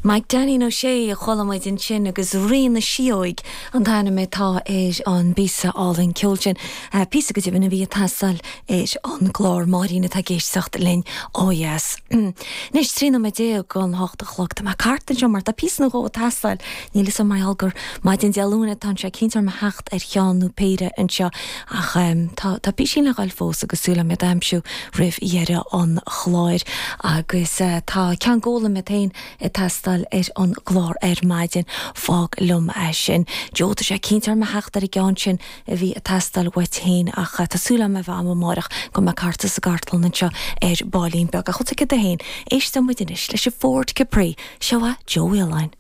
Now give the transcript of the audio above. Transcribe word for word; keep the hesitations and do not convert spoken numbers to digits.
Mike Danny Ó Sé a chuala muid ansin agus Rí na Síóg an t-ainm atá ar an bpíosa álainn ceoil sin. Píosa go deimhin a bhí ag teastáil ar an gclár Máirín atá ag éisteacht linn ó dheas. Anois trí nóiméad déag don hocht a chlog Tá mé thart anseo mar tá píosa nó dhó ag teastáil níl a fhios agam mar gheall gur maidin Dé Luain atá sé cinnte orm a theacht ar cheann nó péire anseo ach tá tá píosín le ghabháil fós agus súil agam iad a aimsiú roimh dheireadh an chláir agus tá ceann góla mé féin ag teastáil ar an gclár ar maidin fág liom é sin. Joe tá sé cinnte orm a theacht ar an gceann sin a bhí ag teastáil uait féin ach tá súil agam a bheith am amárach go mbeidh cárta sa gcartlann anseo ar baillín beag a chut a féin éisteoidh muid anois leis an Ford Capri seo Joe Wheeline.